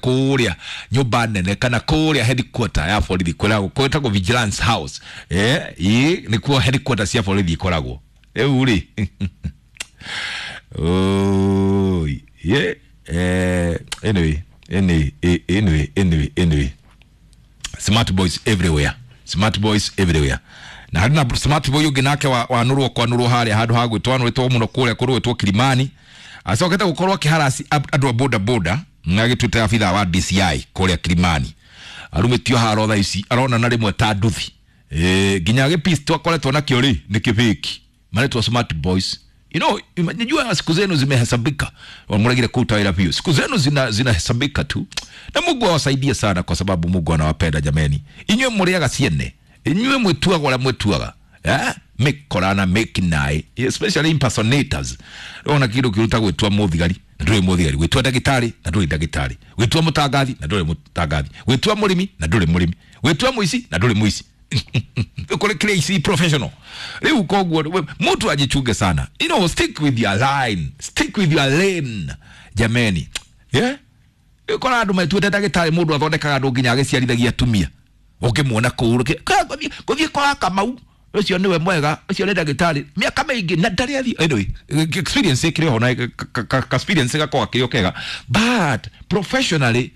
Kũrĩa nyũmba nene kana kũrĩa headquarter ya borithi kwĩragwo kwĩtagwo Vigilance House. Ĩ nĩkuo headquarter cia borithi ikoragwo rĩu rĩ. Oi, yeah. Anyway, anyway, anyway, anyway, anyway. Smart boys everywhere. Smart boys everywhere. Na harĩ na smart boy ũngĩ nake wanũrwo kwanũrwo harĩa handũ ha gwĩtwo anũrĩtwo mũno kũrĩa kũrũĩtwo Kilimani, acokete gũkorwo akĩharasi andũ a boda boda na agĩtuĩte abithaa wa DCI kũrĩa Kilimani, arumĩtio haro thaa ici arona na rĩmwe ta nduthi. Nginya gĩpisto akoretwo nakĩo rĩ nĩ kĩbĩki maretwo smart boys. Najua siku zenu zimehesabika. Wamregire kuta wĩra biũ, siku zenu zinahesabika tu, na Mungu awasaidie sana kwa sababu Mungu anawapenda. Jameni, inyuĩ mũrĩaga ciene, inyuĩ mwĩtuaga ũrĩa mwĩtuaga, eh? Mĩkorana mĩkinaĩ, especially impersonators. Ona kĩndũ kĩruta gwĩtua mũthigari na ndũrĩ mũthigari, gwĩtua ndagĩtarĩ na ndũrĩ ndagĩtarĩ, gwĩtua mũtangathi na ndũrĩ mũtangathi, gwĩtua mũrĩmi na ndũrĩ mũrĩmi, gwĩtua mũici na ndũrĩ mũici, kũrĩ kĩrĩa ici professional rĩu. Koguo mtu ajichunge sana, stick with your line, stick with your lane, jameni, yeah? Kora andũ metuĩte ndagĩtarĩ, mũndũ athondekaga andũ nginya agĩciarithagia atumia, ũngĩmuona kũu gũthiĩ kwa Kamau, ũcio nĩwe mwega, ũcio nĩ ndagĩtarĩ mĩaka mĩingĩ na ndarĩ athiĩ. Anyway, experience ĩkĩrĩ ho na ka experience gakorwo akĩrĩ o kega, but professionally,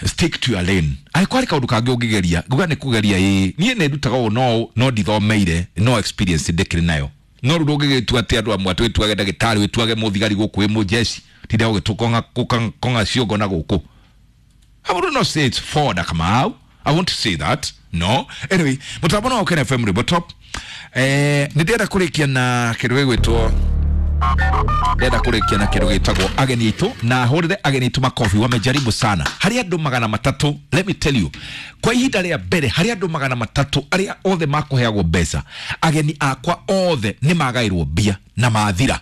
stick to your lane. Angĩkorwo harĩ kaũndũ kangĩ ũngĩgeria, nguga nĩ kũgeria, ĩĩ, niĩ nĩ ndutaga ũũ no ndithomeire, no experience ndĩkĩrĩ nayo. No rĩu ndũngĩgĩtua atĩ andũ amwe atĩ wĩtuage ndagĩtarĩ, wĩtuage mũthigari gũkũ wĩ mũjeshi, tinda ũgĩtũkonga ciongo na gũkũ. I would not say it's Ford Kamau. I want to say that. No. Anyway, mũtambo no Ken FM Rwĩmbo Top. Nĩ ndĩrenda kũrĩkia na kĩndũ gĩgwĩtwo, ndĩrenda kũrĩkia na kĩndũ gĩtagwo ageni aitũ, na hũrĩre ageni aitũ makobi, wamejaribu sana. Harĩ andũ 300, let me tell you, kwa ihinda rĩa mbere harĩ andũ 300 arĩa othe makũheagwo mbeca, ageni akwa othe nĩ magaĩrwo mbia na mathira.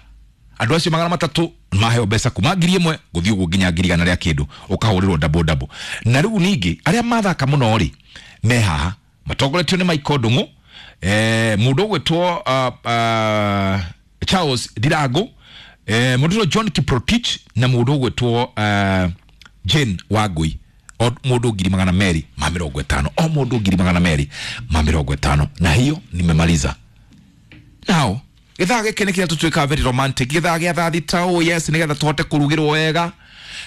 Andũ acio 300 maheo mbeca kuma 1,000 gũthiĩ ũguo nginya 100,000 rĩa kĩndũ, ũkahũrĩrwo double double. Na rĩu ningĩ arĩa mathaka mũno rĩ me haha matongoretio nĩ Michael Ndung'u, mũndũ ũgwĩtwo Charles Ndirango, mũndũ ũgwĩtwo John Kiprotich na mũndũ ũgwĩtwo Jane Wangui, o mũndũ 250,000, o mũndũ 250,000. Na hiyo nimemaliza. Now gĩthaa gĩkĩ nĩ kĩrĩa tũtuĩkaga very romantic, gĩthaa gĩa thaa 6, oh yes, nĩgetha tũhote kũrugĩrwo wega.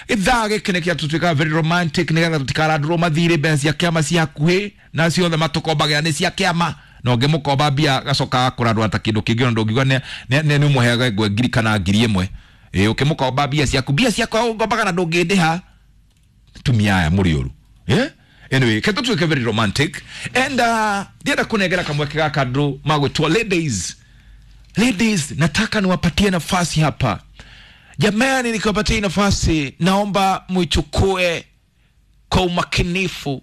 Gĩthaa gĩkĩ nĩ kĩrĩa tũtuĩkaga very romantic nĩgetha tũtikarandũrwo mathirĩ, mbeca cia kĩama cia hakuhĩ na ciothe matũkombagĩra nĩ cia kĩama, na ũngĩmũkomba mbia gacoka kũrandũra ta kĩndũ kĩngĩ, ona ndũngiuga nĩ ũmũheaga ngwe ngiri kana 1,000. Ĩ ũkĩmũkomba mbia ciaku, mbia ciakwa ũngombaga na ndũngĩndĩha, tumia aya mũrĩ ũru, yeah? Anyway, ke tũtuĩke very romantic and ndienda kũnengera kamweke gaka andũ magwĩtwo ladies. Ladies, nataka niwapatie nafasi hapa. Jamani, nikiwapatia nafasi, naomba muichukue kwa umakinifu,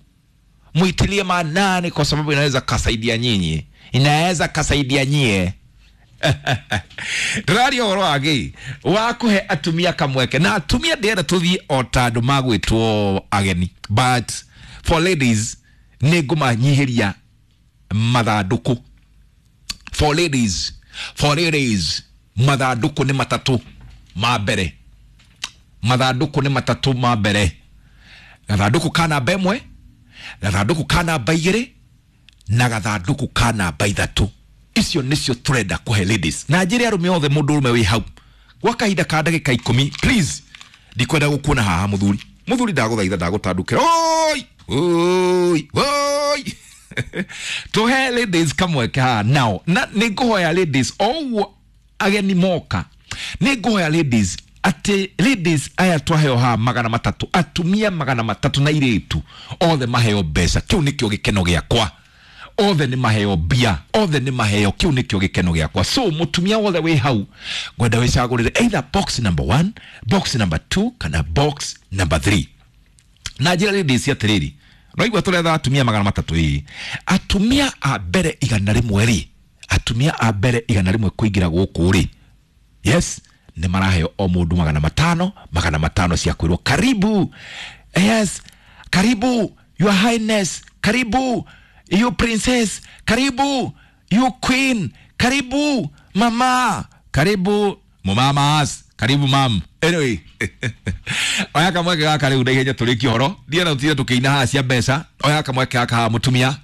muitilie maanani, kwa sababu inaweza kasaidia nyinyi, inaweza kasaidia nyie. Ndĩraria ũhoro wa gĩ wa kũhe atumia kamweke, na atumia ndĩrenda tũthiĩ o ta andũ magwĩtwo ageni, but for ladies nĩ ngũmanyihĩria mathandũkũ. For ladies, for ladies, mathandũkũ nĩ matatũ ma mbere, mathandũkũ nĩ matatũ ma mbere: gathandũkũ ka namba 1, gathandũkũ ka namba 2 na gathandũkũ ka namba 3. Icio nĩcio tũrenda kũhe ladies. Na njĩre arũme othe, mũndũ ũrũme wĩ hau gwa kahinda ka ndagĩka 10, please, ndikwenda gũkuona haha. Mũthuri, mũthuri, ndagũthaitha, ndagũtandũkĩra. Oi oi oi, tũhe ladies kamweke haha nao, na nĩ ngũhoya ladies, o ũguo ageni moka, nĩ ngũhoya ladies atĩ ladies aya twaheo haha 300, atumia 300 na irĩtu othe maheo mbeca. Kĩu nĩkĩo gĩkeno gĩakwa. Othe nĩ maheo mbia, othe nĩ maheo, kĩu nĩkĩo gĩkeno gĩakwa. So mũtumia wothe wĩ hau, ngwenda wĩcagũrĩre either box number 1, box number 2 kana box number 3. Na njĩra ladies atĩrĩrĩ, noigua tũretha atumia 300. Ĩĩ, atumia a mbere 100 rĩ, atumia a mbere 100 kũingĩra gũkũ rĩ, yes, nĩ maraheo o mũndũ 500 500 cia kwĩrwo karibu, yes, karibu your highness, karibu you princess, karibu you queen, karibu mama, karibu mumamas, karibu mam. Anyway, oya kamweke gaka rĩu na ihenya tũrĩkie ũhoro, ndienda tũtinde tũkĩina haha cia mbeca. Oya kamweke gaka haha, mũtumia,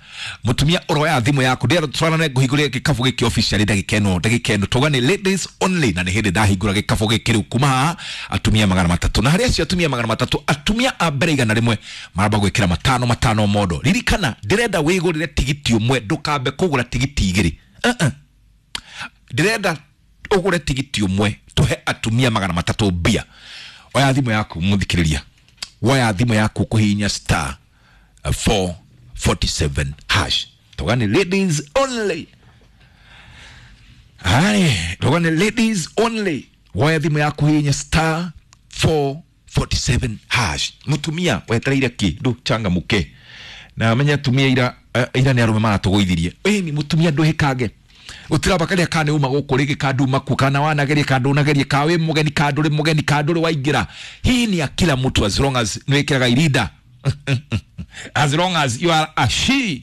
mũtumia ũroya thimũ yaku, ndienda tũtwarane ngũhingũrĩre gĩkabũ gĩkĩ officially ndagĩka ĩno, ndagĩka ĩno tauga nĩ ladies only, na nĩ hĩndĩ ndahingũra gĩkabũ gĩkĩ rĩu kuma haha atumia 300, na harĩ acio atumia 300, atumia a mbere 100 maramba gwĩkĩra matano matano mondo. Ririkana ndĩrenda wĩgũrĩre tigiti ũmwe, ndũkambe kũgũra tigiti igĩrĩ. Ndĩrenda ũgũre tigiti ũmwe tũhe atumia 300 mbia. Oya thimũ yaku mũthikĩrĩria, woya thimũ yaku kũhihinya star 447 hash, tauga nĩ ladies only. Hai, tauga nĩ ladies only. Woya thimũ yaku hihinya star 447 hash. Mũtumia wetereire kĩ? Ndũ changamuke na menya atumia ira ira nĩ arũme maratũgũithirie. Ĩni mũtumia ndũhĩkange gũtiraba karĩa kana uma gũkũ rĩngĩ kanduma ku kana wanagerie kandunagerie ka wĩ mũgeni kandũrĩ mũgeni kandũrĩ waingĩra. Hii ni ya kila mtu as long as nĩwĩkĩraga irinda, as long as you are a she,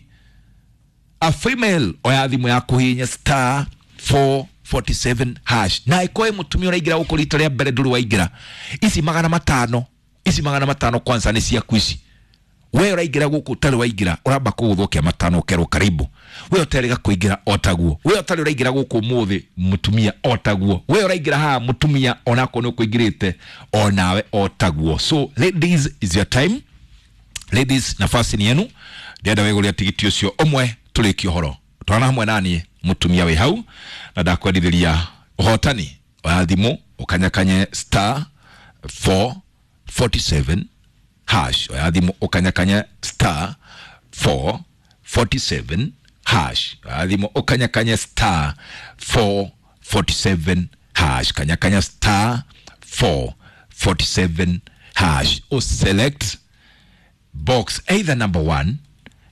a female. Oya thimũ yaku hihinya star 447 hash, na ĩkoe mũtumia ũraingĩra gũkũ rita rĩa mbere ndũrĩ waingĩra, ici 500, ici 500 kwanza nĩ ciaku ici. We ũraingĩra gũkũ ũtarĩ waingĩra, ũramba kũgũthwo matano ũkerwo karibu. We ũtarĩ kũingĩra otaguo, we ũtarĩ ũraingĩra gũkũ ũmũthĩ mũtumia otaguo, we ũraingĩra haha mũtumia onakorwo nĩ ũkũingĩrĩte onawe otaguo. So ladies, is your time. Ladies, nafasi ni yenu. Ndĩrenda wĩgũrĩre tigiti ũcio ũmwe tũrĩkie ũhoro. Twana hamwe naniĩ mũtumia wĩ hau, na ndakwendithĩria ũhotani. Oya thimũ ũkanyakanye star 447 hash. Oya thimũ ũkanyakanye star 447 hash. Oya thimũ ũkanyakanye star 447 hash. Kanyakanya star 447 hash. O select box either number 1,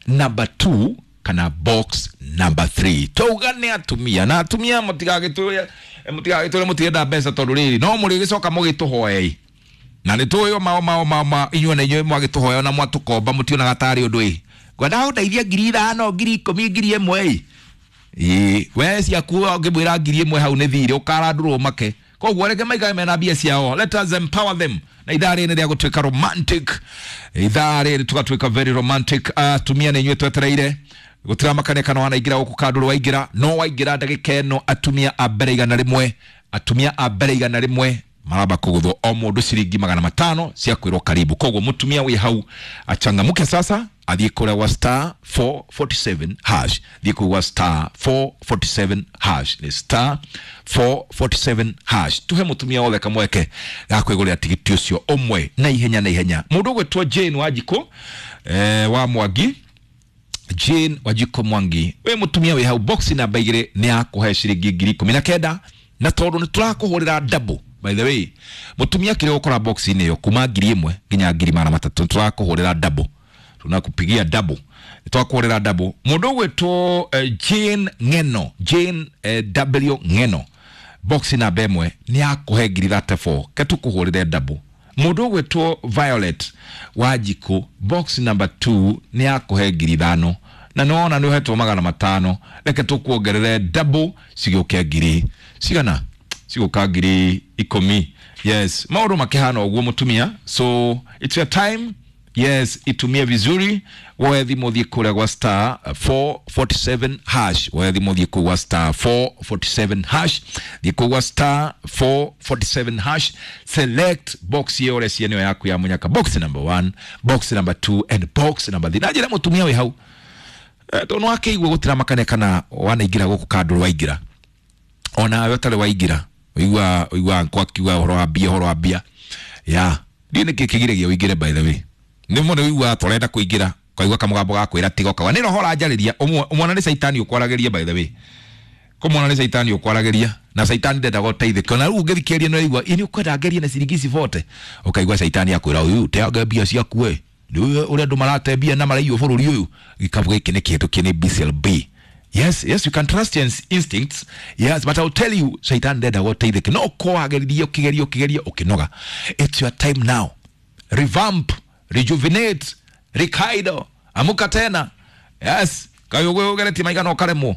number 2 kana box number 3. Tauga nĩ atumia, na atumia mũtigagĩtũre, mũtigagĩtũre mũtirenda mbeca tondũ rĩrĩ no mũrĩgĩcoka mũgĩtũhoei. Na nĩ tũĩ o mao mao mao ma inyuĩ na inyuĩ mwagĩtũhoya na mwatũkomba mũtionaga tarĩ ũndũ ĩ. Ngwenda gũteithia 5,000, 10,000, 1,000 ĩ. Ĩ, we ciaku ũngĩmwĩra 1,000 hau nĩ thirĩ ũkarandũrwo make. Koguo reke maikare mena mbia ciao. Let us empower them. Na ithaa rĩrĩ nĩ rĩa gũtuĩka romantic. Ithaa rĩrĩ tũgatuĩka very romantic. Atumia nĩ inyuĩ twetereire. Gũtiramakania kana wanaingĩra gũkũ kandũrũ waingĩra, no waingĩra ndagĩka ĩno atumia a mbere 100, atumia a mbere 100 maramba kũgũthwo o mũndũ ciringi 500 cia kwĩrwo karibu. Koguo mũtumia wĩ hau achangamuke sasa, athiĩ kũrĩa gwa star 447 hash, thiĩ kũu gwa star 447 hash, nĩ star 447 hash. Tuhe mũtumia wothe kamweke ga kwĩgũrĩra tigiti ũcio ũmwe na ihenya na ihenya. Mũndũ ũgwĩtwo Jane Wanjikũ wa Mwangi, Jane Wanjikũ Mwangi, we mũtumia wĩ hau, box namba 2 nĩ yakũhe ciringi 19,000, na tondũ nĩ tũrakũhũrĩra double. By the way, mũtumia kĩrĩa ũkora box-inĩ ĩyo kuma 1,000 nginya 300,000, tũrakũhũrĩra double, tunakupigia double, twakũhũrĩra double. Mũndũ ũgwĩtwo Jane Ng'eno, Jane W Ng'eno, box namba 1 nĩ yakũhe 34,000, ke tũkũhũrĩre double. Mũndũ ũgwĩtwo Violet Wanjikũ, box number 2 nĩ yakũhe 5,000, na nĩwona nĩ ũhetwo 500, reke tũkuongerere double cigĩũke ngiri cigana, cigũka 10,000. Yes, maũndũ makĩhana ũguo mũtumia, so it's your time. Yes, itumie vizuri. Woe thimũ thiĩ kũrĩa gwa star 447 hash. Woe thimũ thiĩ kũu gwa star 447 hash, thiĩ kũu gwa star 447 hash, select box ĩyo ũreciria nĩyo yaku ya mũnyaka, box number 1, box number 2 and box number 3. Na njĩra mũtumia wĩ hau, tondũ nĩwakĩigua gũtiramakania kana wanaingĩra gũkũ kandũrũ waingĩra, onawe ũtarĩ waingĩra, ũigua ũigua nkwa akiuga ũhoro wa mbia, ũhoro wa mbia ya ndiĩ nĩkĩ kĩgiragia ũingĩre. By the way, nĩ mũndũ ũiguaga tũrenda kũingĩra, ũkaigua kamũgambo ga kwĩra tiga, ũkauga nĩ roho ũranjarĩria. Ũmwana nĩ caitani ũkwaragĩria. By the way, kũmwana nĩ caitani ũkwaragĩria, na caitani ndendaga ũteithĩke. Ona rĩu ũngĩthikĩrĩria nĩ ũraigua ĩ nĩ ũkwenda ngerie na ciringi ici bote, ũkaigua caitani akwĩra ũyũ teanga mbia ciaku we, nĩ ũrĩa andũ marate mbia na maraiywo bũrũri ũyũ. Gĩkabũ gĩkĩ nĩ kĩhetũkie nĩ BCLB. Yes, yes, you can trust your instincts. Yes, but I'll tell you, Shaitan ndendaga ũteithĩke. No kwagĩrĩria ũkĩgeria ũkĩgeria ũkĩnoga. It's your time now. Revamp, rejuvenate, rekaido, amuka tena. Yes, kaĩ ũgeretie maigana ũkaremwo.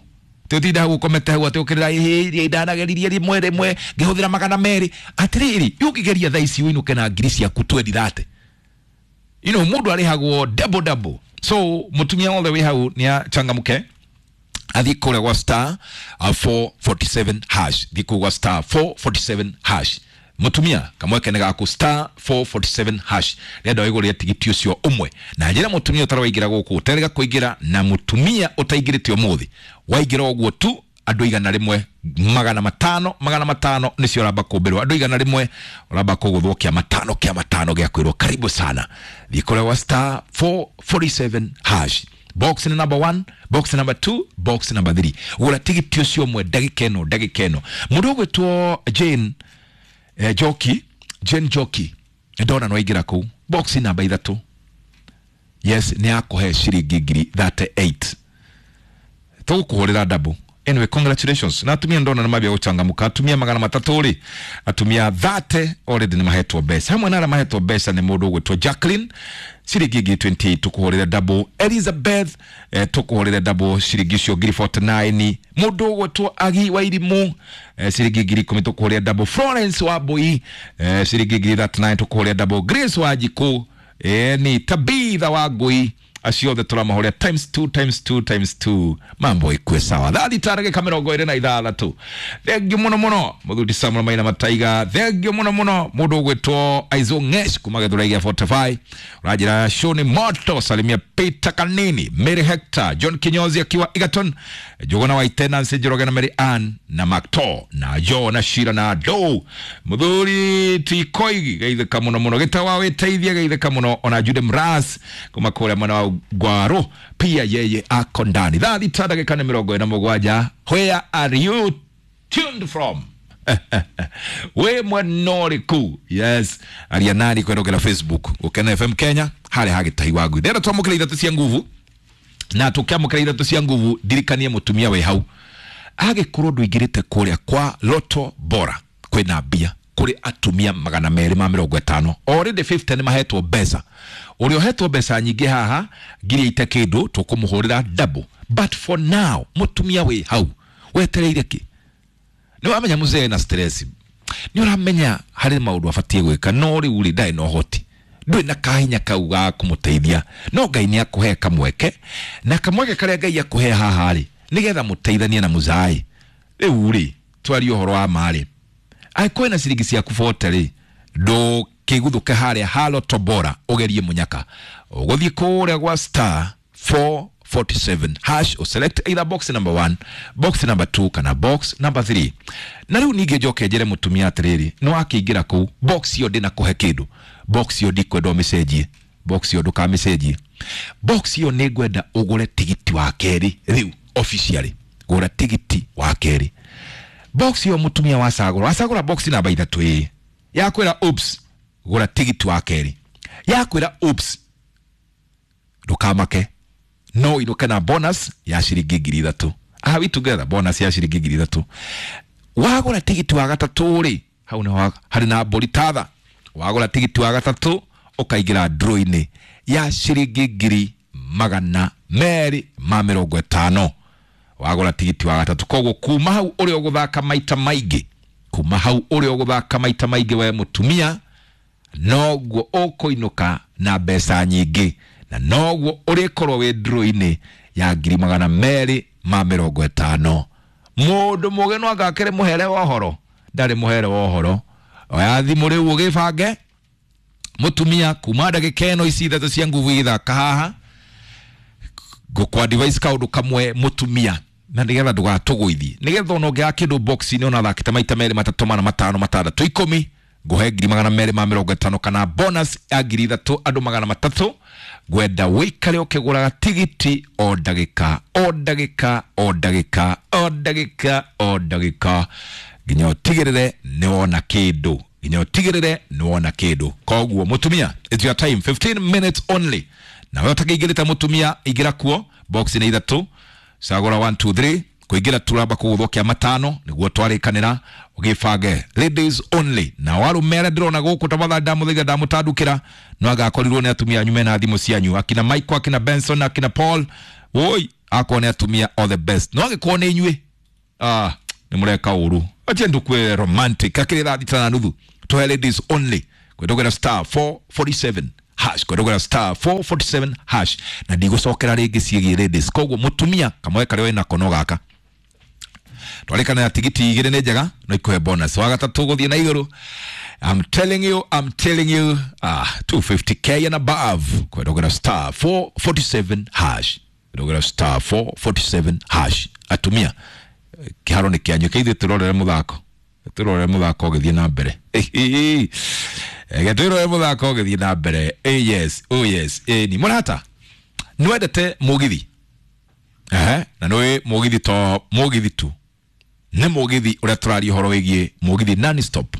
Tutinda hau ukomete hau ati ukirira iria idanageririe rimwe rimwe ngihuthira 200 atiriri ukigeria thaa ici uinuke na ngiri ciaku 20 you know mundu arihagwo double double. So mutumia wothe wi hau ni achangamuke athi kuria gwa star 447 hash, thi kuu gwa star 447 hash. Mutumia kamweke nĩ gaku star 447 hash renda wĩgũrĩre tigiti ũcio ũmwe. Na njĩra mutumia ũtarawaingĩra gũkũ ũterega kũingĩra, na mutumia ũtaingĩrĩte ũmũthĩ waingĩra ũguo tu andũ 100 500 500 nĩcio ũramba kũmbĩrwo, andũ 100 ũramba kũgũthwo kĩa matano kĩa matano gĩa kwĩrwo karibu sana. Thiĩ kũrĩa gwa star 447 hash, box number 1, box number 2, box number 3, gũra tigiti ũcio ũmwe ndagĩka ĩno ndagĩka ĩno. Mũndũ ũgwĩtwo Jane Joki, Jane Joki ndona no aingĩra kũu box namba 3, yes, nĩ akũhe ciringi ngiri 38 tũgũkũhũrĩra double. Anyway, congratulations na atumia ndona nĩ mambia gũchangamũka. Atumia 300 rĩ, atumia 30 already nĩ mahetwo mbeca. Hamwe na arĩa mahetwo mbeca nĩ mũndũ ũgwĩtwo Jacqueline ciringi ngiri 28 tũkũhũrĩre double. Elizabeth tũkũhũrĩre double ciringi icio ngiri 49. Mũndũ ũgwĩtwo Agi wa Irimũ ciringi ngiri 10 tũkũhũrĩre double. Florence wa Mbui ciringi ngiri 39 tũkũhũrĩre double. Grace wa Njikũ ni Tabitha wa Ngui, acio othe tũramahoria times 2 times 2 times 2, mambo ikue sawa. Thaa thita ndagĩka 26. Thengio mũno mũno mũthuri Samuel Maina Mataiga, thengio mũno mũno mũndũ ũgwĩtwo Aizo Ngesh kuma Gĩthũrai gĩa 45, ũranjĩra show nĩ moto. Salimia Peter Kanini, Mary Hector, John Kinyozi akiwa Egerton, Njuguna wa Nancy Njoroge na Mary Ann na Macto na Jo na Shira na Do. Mũthuri Tikoigi geithĩka mũno mũno, Gĩtawa wĩteithia geithĩka mũno, ona Jude Mras kuma kũrĩa mwena wa Ngwaro pia yeye ako ndani. Thaa thita ndagĩka nĩ 47. Where are you tuned from? We mwena ũrĩkũ? Yes, aria nani kwendokera Facebook Gũkena FM Kenya harĩa hagĩtahi wa ngui. Ndĩrenda twamũkĩra ithatũ cia nguvu, na tũkĩamũkĩra ithatũ cia nguvu ndirikanie mũtumia wĩ hau agĩkorwo ndũingĩrĩte kũrĩa kwa Lotto Bora kwĩna mbia kũrĩ atumia 250 already 50 nĩ mahetwo mbeca. Ũrĩa ũhetwo mbeca nyingĩ haha ngiri ite kĩndũ tũkũmũhũrĩra double, but for now mũtumia wĩ hau wetereire kĩ? Nĩ wamenya mzee na stress, nĩ ũramenya harĩ maũndũ abatiĩ gwĩka, no rĩu rĩ ndarĩ na ũhoti, ndũrĩ na kahinya kau ga kũmũteithia, no Ngai nĩ akũhe kamweke, na kamweke karĩa Ngai akũhe haha rĩ nĩgetha mũteithanie na mũzaĩ. Rĩu rĩ twarie ũhoro wa ma rĩ, angĩkorwo na ciringi ciaku 40 rĩ, ndũkĩguthũke harĩa ha Lotto Bora ũgerie mũnyaka, ũgũthiĩ kũrĩa gwa star 447 hash, uselect either box number 1, box number 2 kana box number 3. Na rĩu ningĩ njoke njĩre mũtumia atĩrĩrĩ, nĩ wakĩingĩra kũu box ĩyo ndĩnakũhe kĩndũ, box ĩyo ndikwenda ũmĩcenjie, box ĩyo ndũkamĩcenjie, box ĩyo nĩ ngwenda ũgũre tigiti wa kerĩ rĩu officially, gũra tigiti wa kerĩ. Box ĩyo mũtumia wacagũra, wacagũra box namba 3 ĩ yakwĩra oops, gũra tigiti wa kerĩ, yakwĩra oops, ndũkamake, no inũke na bonus ya ciringi ngiri 3. Are we together? Bonus ya ciringi ngiri 3. Wagũra tigiti wa gatatũ rĩ, hau nĩ harĩ na mbũri tatha. Wagũra tigiti wa gatatũ ũkaingĩra draw-inĩ ya ciringi ngiri 250. Wagũra tigiti wa gatatũ, koguo kuma hau ũrĩa ũgũthaka maita maingĩ, kuma hau ũrĩa ũgũthaka maita maingĩ we mũtumia, noguo ũkũinũka na mbeca nyingĩ, na noguo ũrĩkorwo wĩ draw-inĩ ya ngiri 250. Mũndũ mũgĩ no angakĩrĩ mũhere wa ũhoro, ndarĩ mũhere wa ũhoro. Oya thimũ rĩu ũgĩbange mũtumia kuma ndagĩka ĩno ici ithatũ cia nguvu igĩthaka haha, ngũkwa device kaũndũ kamwe mũtumia, na nĩgetha ndũgatũgũithie, nĩgetha ona ũngĩaga kĩndũ box-inĩ ona thakĩte maita 2 3 4 5 6 10 ngũhe ngiri 250 kana bonus ya ngiri 3 andũ 300. Ngwenda wĩikare ũkĩgũraga tigiti o ndagĩka o ndagĩka o ndagĩka o ndagĩka o ndagĩka nginya ũtigĩrĩre nĩ wona kĩndũ, nginya ũtigĩrĩre nĩ wona kĩndũ. Koguo mũtumia, it's your time, 15 minutes only. Na wewe ũtakĩingĩrĩte mũtumia, ingĩra kuo box nĩ 3, cagũra 1 2 3, kuingira turamba kugũthwo kia matano niguo twarikanira ugibange ladies only. Na warume aria ndirona guku tafadhali ndamuthaitha ndamutandukira no agakorirwo ni atumia anyu mena thimu cianyu, akina Michael, akina Benson, akina Paul. Woi, Akorwo nĩ atumia, all the best. No angĩkorwo nĩ inyuĩ, ah, nĩ mũreka ũru. Ache ndukue romantic akĩrĩ 6:30 tuhe ladies only kwendogera star 447 hash, kwendogera star 447 hash, na ndigũcokera rĩngĩ ciĩgiĩ ladies. Koguo mũtumia kamwe karĩa wĩnako no gaka twarĩkana tigiti igĩrĩ nĩ njega no ikuhe bonus wa gatatũ gũthiĩ na igũrũ. I'm telling you, I'm telling you, ah, 250K and above kwendogera star 447 hash, kwendogera star 447 hash. Atumia, kĩharo nĩ kĩanyu, kĩithuĩ tũrorere mũthako, tũrorere mũthako ũgĩthiĩ na mbere. Reke twĩrorere mũthako ũgĩthiĩ na mbere. Yes, oh yes. Ni mũrata, nĩwendete mũgithi? Ehe, na nĩũĩ mũgithi to mũgithi tu, nĩ mũgithi ũrĩa tũraria ũhoro wĩgiĩ mũgithi non stop.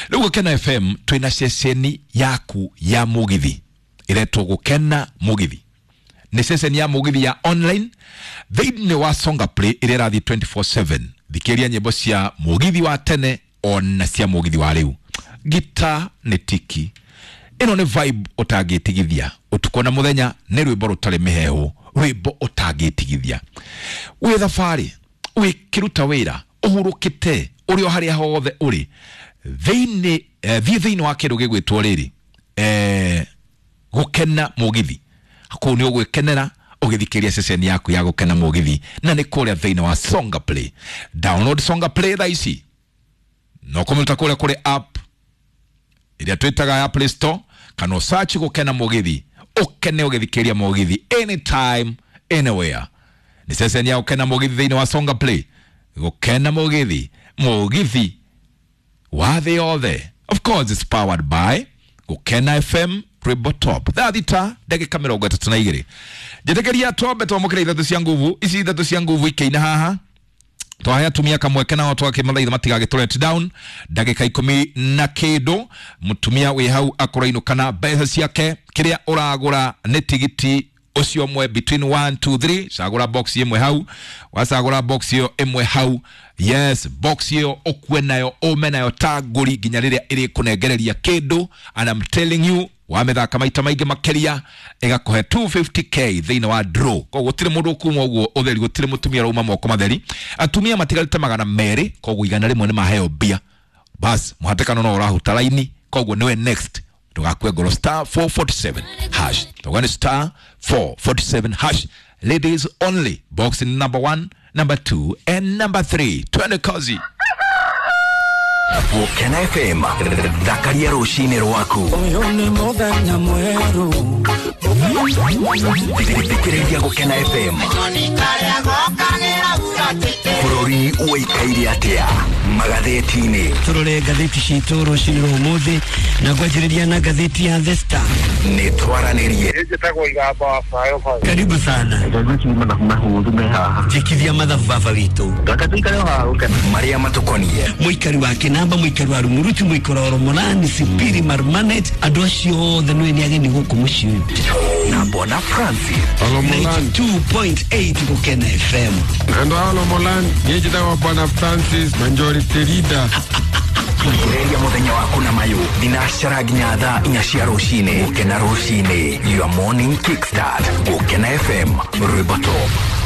Rĩu Gũkena FM twĩna ceceni yaku ya mũgithi ĩretwo Gũkena Mũgithi. Nĩ ceceni ya mũgithi ya online thĩinĩ wa Songa Play ĩrĩa ĩrathiĩ 24/7. Thikĩrĩria nyĩmbo cia mũgithi wa tene ona cia mũgithi wa rĩu. Gita nĩ tiki ĩno nĩ vibe ũtangĩtigithia ũtukũ na mũthenya, nĩ rwĩmbo rũtarĩ mĩhehu, rwĩmbo ũtangĩtigithia wĩ thabarĩ, wĩkĩruta wĩra, ũhurũkĩte, ũrĩ o harĩa hothe ũrĩ thĩinĩ. Thiĩ thĩinĩ wa kĩndũ gĩgwĩtwo rĩrĩ, Gũkena Mũgithi. Kũu nĩ ũgwĩkenera ũgĩthikĩrĩria ceceni yaku ya Gũkena Mũgithi, na nĩ kũrĩa thĩinĩ wa Songa Play. Download Songa Play thaa ici, no kũmĩruta kũrĩa kũrĩ app ĩrĩa twĩtaga ya Play Store, kana search Gũkena Mũgithi, ũkene ũgĩthikĩrĩria mũgithi anytime, anywhere. Nĩ ceceni ya Gũkena Mũgithi thĩinĩ wa Songa Play. Gũkena Mũgithi, mũgithi wa thĩ yothe. Of course, it's powered by Gũkena FM, rwĩmbo top. 6:32. Njĩtĩkĩria twambe twamũkĩra ithatũ cia nguvu ici, ithatũ cia nguvu ikĩina haha. Twahe atumia kamweke nao twakĩmathaitha matigagĩtũ let down. Ndagĩka 10 na kĩndũ, mũtumia wĩ hau akũrainũka na mbeca ciake. Kĩrĩa ũragũra nĩ tigiti ũcio ũmwe between 1 2 3. Cagũra box ĩmwe hau, wacagũra box ĩyo ĩmwe hau, yes, box ĩyo ũkue nayo, ũme nayo ta ngũri nginya rĩrĩa ĩrĩkũnengereria kĩndũ. And I'm telling you, wamĩthaka maita maingĩ makĩria ĩgakũhe 250K thĩinĩ wa draw. Koguo gũtirĩ mũndũ ũkuma ũguo ũtheri, gũtirĩ mũtumia ũrauma moko matheri. Atumia matigarĩte 200, koguo 100 nĩ maheo mbia. Bas, mũhatĩkano no ũrahuta raini, koguo nĩwe next. Ndũgakue ngoro, star 447 hash. Tũgane star 447 hash, ladies only, box number 1, number 2 and number 3. Twende kazi. Gũkena FM, thakaria rũcinĩ rwaku. Ũyũ nĩ mũthenya mwerũ. Thikĩrĩria Gũkena FM. Bũrũri ũikaire atĩa magathĩti-inĩ? Tũrore ngathĩti citũ rũcinĩ rwa ũmũthĩ na ngwanjĩrĩria na ngathĩti ya The Star. Nĩ twaranĩrie. Njĩtagwo Igamba wa Bayo. Karibu sana. Njĩkithia mathabu baba witũ. Marĩa matũkoniĩ. Mũikari wa Kĩnamba, mũikari wa Rumuruti, mũikari wa Romolani, Sipiri, Marmanet, andũ acio othe nĩ nĩ ageni gũkũ mũciĩ ũyũ. Na Bwana Francis. 92.8 Gũkena FM. Ando Olomolan, njĩtagwo Bwana Francis Majority Leader. Thikĩrĩria mũthenya waku na mayũ thinacara nginya 4:00 cia rũcinĩ. Gũkena rũcinĩ, your morning kickstart. Gũkena FM, rwĩmbo top.